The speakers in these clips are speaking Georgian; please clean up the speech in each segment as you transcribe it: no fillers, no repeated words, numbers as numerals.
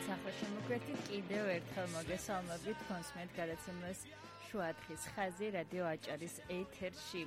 ახლა შემოგვერთით კიდევ ერთხელ მოგესალმებით კონსმეთ გადაცემას შუადღის ხაზი რადიო აჭარის ეთერში.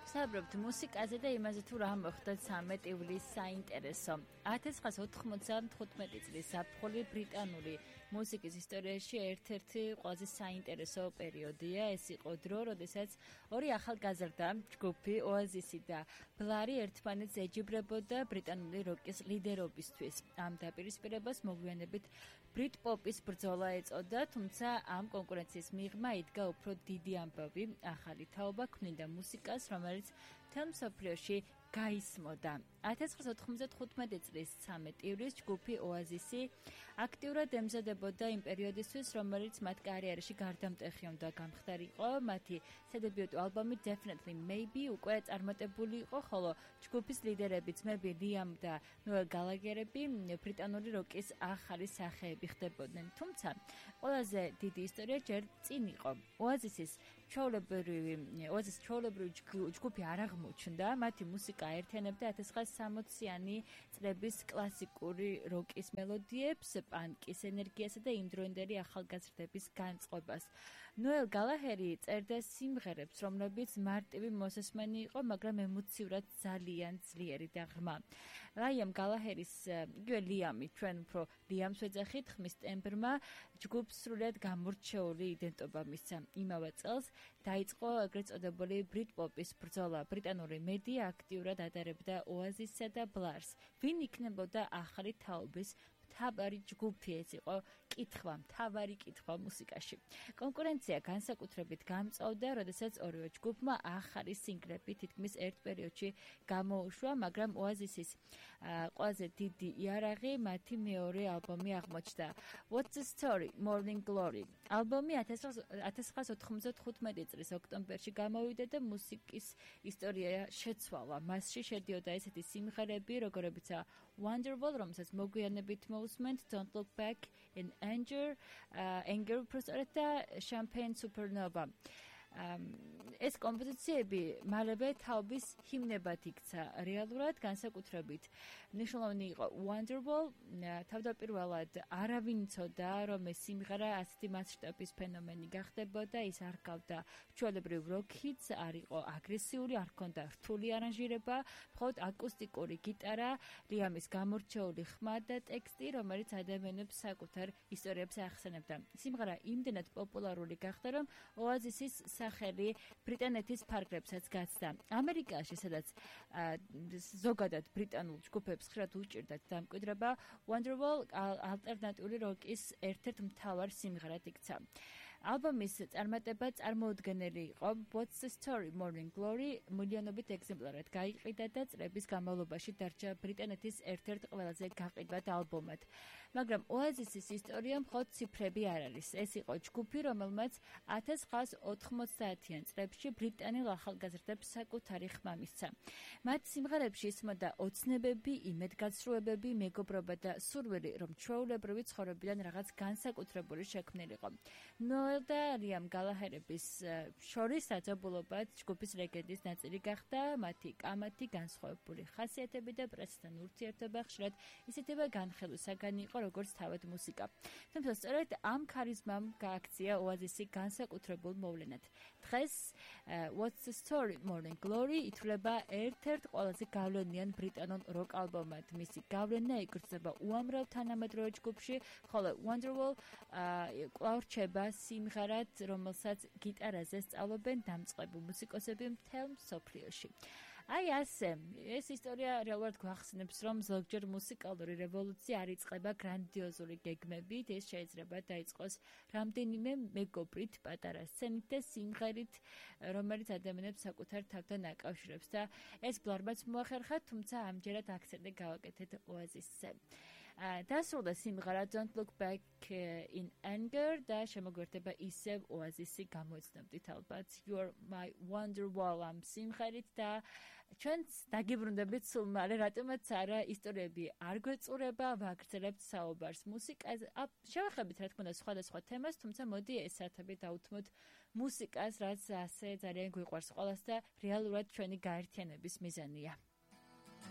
ვსაუბრობთ მუსიკაზე და იმაზე თუ რა მოხდა 13 ივლისს საინტერესო. 1995 წლის ზაფხული ბრიტანული მუსიკის ისტორიაში ერთ-ერთი ყველაზე საინტერესო პერიოდია. ეს იყო დრო, როდესაც ორი ახალგაზრდა ჯგუფი ოაზისი და ბლარი ერთმანეთს ეჯიბრებოდა ბრიტანული როკის ლიდერობისთვის. ამ დაპირისპირებას მოგვიანებით ბრიტ-პოპის ბრძოლა ეწოდა, თუმცა ამ კონკურენციის მიღმა იდგა უფრო დიდი ამბავი, ახალი თაობა ქმნიდა მუსიკას, რომელიც მთელ მსოფლიოში გაისმოდა. 1995 წლის 13 ივლისს ჯგუფი ოაზისი აქტიურად ემზადებოდა იმ პერიოდისთვის, რომელიც მათ კარიერაში გარდამტეხი უნდა გამხდარიყო. მათი სადებიუტო ალბომი Definitely Maybe უკვე წარმატებული იყო, ხოლო ჯგუფის ლიდერები ძმები Liam და Noel Gallagher-ები ბრიტანული როკის ახალი სახეები ხდებოდნენ. თუმცა ყველაზე დიდი ისტორია ჯერ წინ იყო. ოაზისის ჩვეულებრივი ჯგუფი არ აღმოჩნდა, მათი მუსიკა აერთიანებდა 1960-იანი წლების კლასიკური როკის მელოდიებს, პანკის ენერგიასა და იმდროინდელი ახალგაზრდების განწყობას. ნოელ გალაჰერი წერდა სიმღერებს, რომლებიც მარტივი მოსესმენი იყო, მაგრამ ემოციურად ძალიან ძლიერი და ღრმა. რაიამ გალაჰერის, იგივე ლიამი, ჩვენ უფრო ლიამს ვეძახით, ხმის ტემბრმა ჯგუფს სრულად გამორჩეული იდენტობა მისცა. იმავე წელს დაიწყო ეგრეთ წოდებული ბრიტ-პოპის ბრძოლა. ბრიტანული მედია აქტიურად ადარებდა ოაზისსა და ბლარს. ვინ იქნებოდა ახალი თაობის მთავარი ჯგუფი? ეს იყო მთავარი კითხვა მუსიკაში. კონკურენცია განსაკუთრებით გამწვავდა, როდესაც ორივე ჯგუფმა ახალი სინგლები თითქმის ერთ პერიოდში გამოუშვა, მაგრამ ოაზისის ყველაზე დიდი იარაღი მათი მეორე ალბომი აღმოჩნდა. What's the Story? Morning Glory. ალბომი 1995 წლის ოქტომბერში გამოვიდა და მუსიკის ისტორია შეცვალა. მასში შედიოდა ესეთი სიმღერები, როგორებიცაა Wonderwall, რომელსაც მოგვიანებით მოусმენთ, Don't Look Back in Anger, უბრალოდ და Champagne Supernova. ეს კომპოზიციები მალევე თაობის ჰიმნებად იქცა რეალურად, განსაკუთრებით მნიშვნელოვანი იყო Wonderwall. თავდაპირველად არავინ იცოდა, რომ ეს სიმღერა ასეთი მასშტაბის ფენომენი გახდებოდა, ის არ გავდა ჩვეულებრივ rock hits, არ იყო აგრესიული, არ ჰქონდა რთული არანჟირება, მხოლოდ აკუსტიკური გიტარა, ლიამის გამორჩეული ხმა და ტექსტი, რომელიც ადამიანებს საკუთარ ისტორიებს ახსენებდა. სიმღერა იმდენად პოპულარული გახდა, რომ ოაზისის სახელი ბრიტანეთის ფარგლებსაც გაცდა. ამერიკაში, სადაც ზოგადად ბრიტანულ ჯგუფებს ხშირად უჭირდათ დამკვიდრება, Wonderwall ალტერნატიული როკის ერთ-ერთ მთავარ სიმღერად იქცა. ალბომის წარმატება წარმოუდგენელი იყო. What's the Story? Morning Glory მილიონობით ეგზემპლარად გაიყიდა და წლების განმავლობაში დარჩა ბრიტანეთის ერთ-ერთ ყველაზე გაყიდვად ალბომად. მაგრამ ოაზისის ისტორია მხოლოდ ციფრები არ არის. ეს იყო ჯგუფი, რომელმაც 1990-იან წლებში ბრიტანელ ახალგაზრდებს საკუთარი ხმა მისცა. მათ სიმღერებში ისმოდა ოცნებები, იმედგაცრუებები, მეგობრობა და სურვილი, რომ ჩვეულებრივი ცხოვრებიდან რაღაც განსაკუთრებული შექმნილიყო. ნოელ და ლიამ გალაჰერების შორის საძაბულობად ჯგუფის ლეგენდის ნაწილი გახდა. მათი კამათი, განსხვავებული ხასიათები და პრესთან ურთიერთობა ხშირად ისეთივე განხილვისაგანი იყო, როგორც თავად მუსიკა. თუმცა სწორედ ამ ქარიზმამ გააქცია ოაზისი განსაკუთრებულ მოვლენად. დღეს What's the Story? Morning Glory ითვლება ერთ-ერთ ყველაზე გავლენიან ბრიტანულ როკ ალბომად. მისი გავლენა იგრძნობა უამრავ თანამედროვე ჯგუფში, ხოლო Wonderwall კვლავ რჩება სიმღერად, რომელსაც გიტარაზე სწავლობენ დამწყები მუსიკოსები მთელ მსოფლიოში. აი ასე, ეს ისტორია რეალურად გვახსენებს, რომ ზოგჯერ მუსიკალური რევოლუცია არ იწყება გრანდიოზული გეგმებით, ეს შეიძლება დაიწყოს რამდენიმე მეგობრით, პატარა სცენით და სიმღერით, რომელიც ადამიანებს საკუთარ თავთან აკავშირებს და ეს ბლარმაც მოახერხა, თუმცა ამჯერად აქცენტი გავაკეთეთ ოაზისზე. დასრულდა სიმღერა Don't Look Back in Anger და შემოგვერთება ისევ ოაზისი, გამოიცნობდით ალბათ You're My Wonderwall ამ სიმღერით და ჩვენც დაგიბრუნდებით სულ მალე, რატომაც არა ისტორიები არ გვეწურება, ვაგრძელებთ საუბარს მუსიკაზე. შევახებით რა თქმა უნდა სხვადასხვა თემას, თუმცა მოდი ეს საათები დავუთმოთ მუსიკას, რაც ასე ძალიან გვიყვარს ყველას და რეალურად ჩვენი გაერთიანების მიზანია.